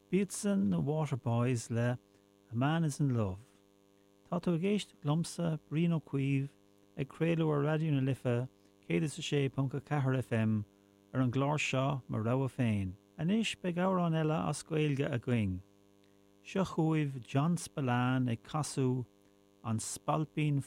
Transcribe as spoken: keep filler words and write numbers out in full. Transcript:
B'iadsan na Waterboys le A Man is in Love. Tá tú ag éisteacht liomsa Brian Ó Cuív ag craoladh ar Raidió na Life céad is a sé ponc a ceathair FM ar an gclár seo mo rogha féin. Anois beidh amhrán eile as Gaeilge againn. Seo chugaibh John Spillane ag casadh an Spailpín